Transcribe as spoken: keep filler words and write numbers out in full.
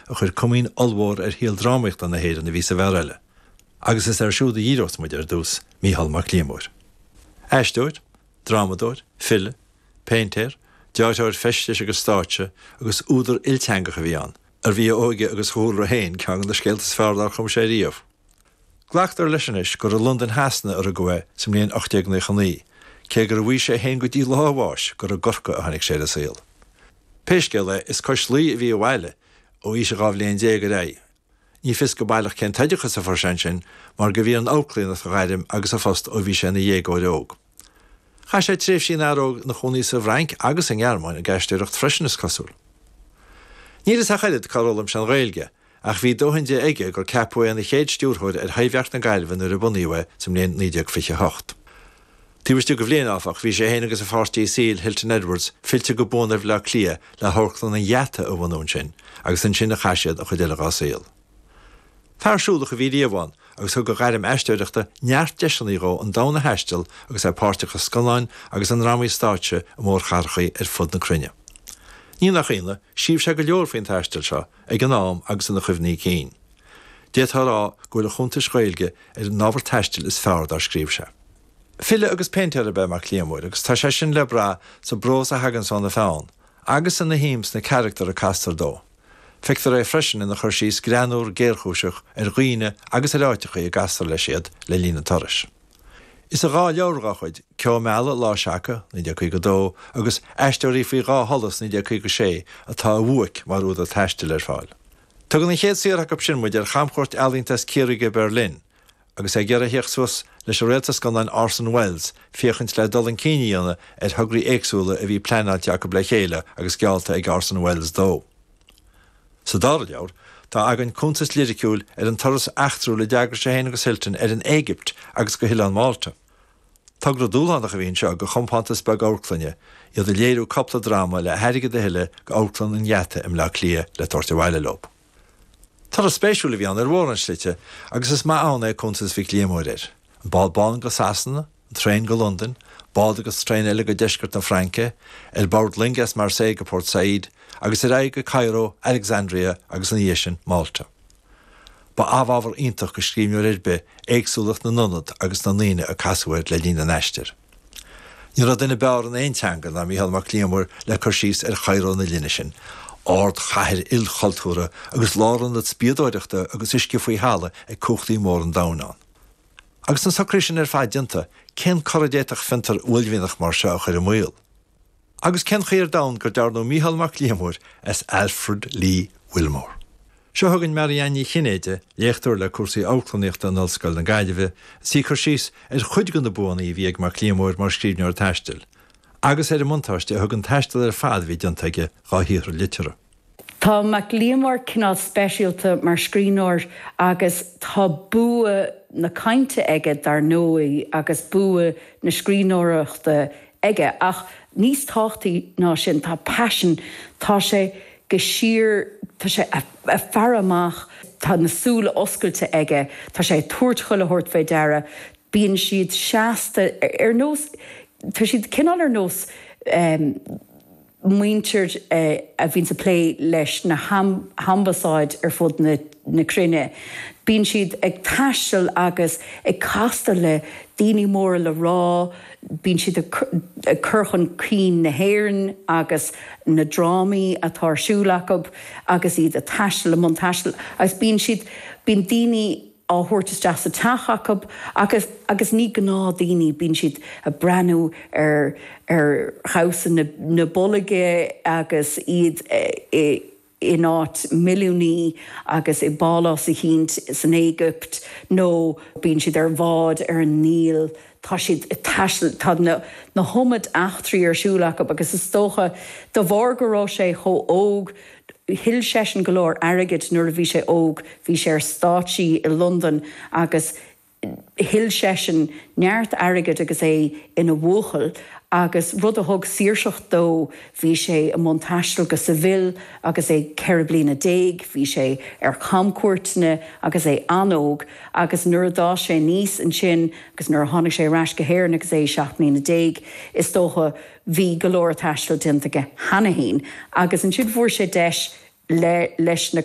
a chuir comaoin ollmhór ar shaol drámaíochta na hÉireann a bhí sa bhfear eile. Agus is air siúd a dhíreos muid ar dtús Mícheál Mac Liammóir. Aisteoir, drámadóir, file, péintéir, dearthóir feistis agus stáitse agus údar ilteangach a bhí ann, arbh í a óige agus a chúlra féin ceann de na scéalta is fearr dár chum sé riamh. Glactar leis anois gur i Londain Shasana a rugadh é sa mbliain ocht déag nócha naoi, cé gur mhaígh sé féin go dtí lá a bháis gur i gCorcaigh a tháinig sé ar an saol. Pé scéal é is cois Laoi a bhí a bhaile ó aois a dhá bhliain déag ar aghaidh. Ní fios go baileach cén t-oideachas a fuair sé ansin mar gurbh í an amharclannaíocht a ghairm agus a phost ó bhí sé ina dhéagóir óg. Chaith sé tréimhsí ina fhear óg ina chónaí sa bhFrainc agus i nGearmáin ag aisteoireacht freisin is cosúil. Níl fhios ach oiread cár fhoghlaim sé an Ghaeilge, ach bhí dóthain di aige gur ceapadh é ina chéad stiúrthóir ar Thaibhdhearc na Gaillimhe nuair a bunaíodh é sa mbliain naoi déag fiche a hocht. Taobh istigh de bhliain, áfach, bhí sé féin agus a pháirtí saoil, Hilton Edwards, fillte go buan ar Bhaile Átha Cliath le hAmharclann an Gheata a bhunú ansin, agus ansin a chaith siad an chuid eile dá saol. Fear siúlach a bhí riamh ann, agus thug a ghairm aisteoireachta neart deiseanna dhó an domhan a thaisteal agus é páirteach i scannáin agus i ndrámaí stáitse i mórchathracha ar fud na cruinne. Ní nach ionadh, scríobh sé go leor faoin taisteal seo, ag an am agus ina chuimhní cinn. D'fhéadfá a rá go bhfuil a chuntais Ghaeilge ar an ábhar taistil is fearr dár scríobh sé. File agus péintéir ab ea Mac Liammóir agus tá sé sin le brath sa bprós a thaganns óna pheann, agus ina shuim sna carachtair a castar dó. Feictear é freisin ina chur síos greannmhar géarchúiseach ar dhaoine agus ar áiteacha a gcastar leis iad le linn an turais. Is i dhá leabhar dá chuid, Ceo Meala, Lá Seaca, naoi déag caoga a dó, agus Aisteoirí faoi Dhá Sholas, naoi déag caoga a sé, atá a bhuaic mar údar taistil ar fáil. Tugann an chéad saothar acu sin muid ar chamchuairt ealaíonta as Ciarraí go Berlin, agus é ag iarraidh theacht suas leis an réalta scannáin Orson Welles féachaint le dul chun cinn a dhéanamh ar thograí éagsúla a bhí pleanáilte acu le chéile agus geallta ag Orson Welles dó. Sa dara leabhar, tá againn cuntas liriciúil ar an turas eachtrúil a d'eagraigh sé féin agus Hilton ar an Éigipt agus go hOileán Mhálta. Togra dúshlánach a bhí anseo do chompántas beag amharclainne, iad ag léiriú cúpla dráma le hairgead a thuilleadh go Amharclann an Gheata i mBleá Cliath le tabhairt abhaile leo. Turas spéisiúil a bhí ann ar mhórán slite agus is maith ann é cuntas Mhic Liammóir air. An bád bán go Sasana, an traein go Londain, bád agus traein eile go deisceart na Fraince, ar bord loinge as Marseille go Port Said, agus ar aghaidh go Cairo, Alexandria agus ina dhiaidh sin Malta. Ba amhábhar iontach do scríbhneoir ar bith éagsúlacht na n-ionad agus na ndaoine a casadh air le linn an aistir. Ní raibh duine b'fhearr in aon teanga ná Mícheál Mac Liammóir le cur síos ar Chairo na linne sin, ardchathair ilchultúrtha agus lárionad spiadóireachta agus uisce faoi thalamh ag cumhachtaí móra an domhain ann. Agus na socruithe sin ar fad déanta, cén cor a d'fhéadfadh fiontar uaillmhianach mar seo a chur i mbaol? Agus cén chaoi ar domhan gur dearnadh Mícheál Mac Liammóir as Alfred Lee Wilmore? Seo chugainn Marianne Ní Chinnéide, léachtóir le cúrsaí amharclannaíochta in Ollscoil na Gaillimhe, is í ag cur síos ar chuid de na buanna a bhí ag Mac Liammóir mar scríbhneoir taistil, agus ar an mbuntáiste a thug an taisteal ar fad a bhí déanta aige dá shaothar liteartha. Tá Mac Liammóir cineál speisialta mar scríbhneoir agus tá bua na cainte aige dar ndóigh agus bua na scríbhneoireachta aige ach níos tábhachtaí ná sin tá paisean, tá sé go síor, tá sé ag faire amach, tá na súile oscailte aige, tá sé ag tabhairt chuile shórt fé deara, bíonn siad seasta ar nós, tá siad cineál ar nós muintir a bhíonns ag plé leis na hambasáid ar fud na na cruinne. Bíonn siad ag taisteal agus ag castáil le daoine móra le rá, bíonn siad ag cur chun cinn na hÉireann agus na drámaí atá ar siúl acu agus iad ag taisteal, i mbun taistil agus bíonn siad, bíonn daoine á thabhairt isteach sa teach acu agus agus ní gnáthdhaoine, bíonn siad ag breathnú ar ar dhamhsa na na bolige agus iad i in áit milliúnaí agus i bpálás eicínt san Éigipt nó bíonn siad ar bhád ar an Níl, tá siad ag taisteal, tá na na hiomad eachtraí ar siúl acu agus is dócha de bharr go raibh sé chomh óg, thuill seisean go leor airgid nuair a bhí sé óg, bhí sé ar stáitsí i Londain agus Thuill seisean neart airgid agus é ina bhuachaill agus rud a thug saoirseacht dó, bhí sé i mbun taistil go Seville agus é ceithre bliana déag, bhí sé ar chamcuairteanna agus é an-óg agus nuair a d'fhás sé aníos ansin agus nuair a tháinig sé ar ais go hÉirinn agus é seacht mbliana déag, is dócha, bhí go leor taistil déanta aige cheana féin agus ansin fuair sé deis le leis na